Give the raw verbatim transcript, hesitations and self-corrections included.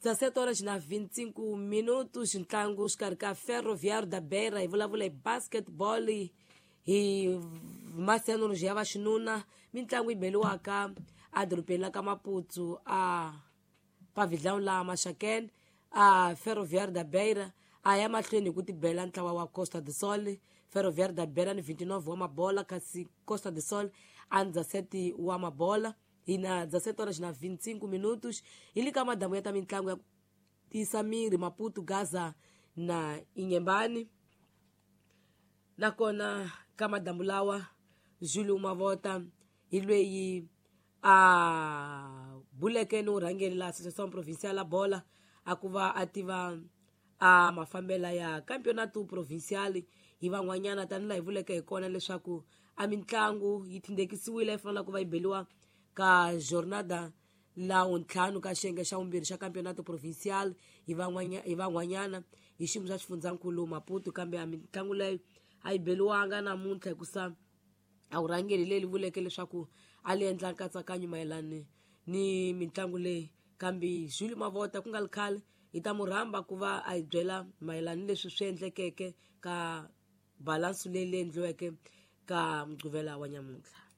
dezessete horas na vinte e cinco minutos, ntlangu xikarhi ka Ferroviário da Beira, hi vulavula hi basketball hi masenoloji ya vaxinuna, mitlangu yi beliwaka edorobeni la ka Maputo a pavilhão la Maxakene. A Ferroviário da Beira a ya mahlweni hi ku tibela ntlawa wa Costa do Sol. Ferroviário da Beira ni vinte e nove wa mabola, kasi Costa do Sol a ni dezessete wa mabola. Hi na dezessete horas na vinte e cinco minutos, hi le ka madamu ya ta mitlangu ya ku tiyisa miri Maputo, Gaza na Inhambane. Nakona ka madamu lawa Júlio Mavota hi lweyi a buleke ni vurhangeri la Associação Provincial la Bola a ku va a tiva a mafambela ya Campeonato Provincial hi van'wanyana, tanihi laha hi vuleke hi kona leswaku a mitlangu yi tindekisiwile yi fanele ku va yi beliwa ka jornada la ntlhanu ka xiyenge xa vumbirhi xa Campeonato Provincial hi van'wanya hi van'wanyana hi xiyimo xa xifundzankulu Maputo, kambe a mitlangu leyo a yi beliwanga namuntlha hikusa a vurhangeri leyi vuleke leswaku a li endla nkatsakanyo mayelana ni mitlangu leyi. Kambe Júlio Mavota ku nga ri khale hi ta mu rhamba ku va a hi byela mayelana ni leswi swi endlekeke ka balansi leyi leyi endliweke ka Mugqivela wa nyamuntlha.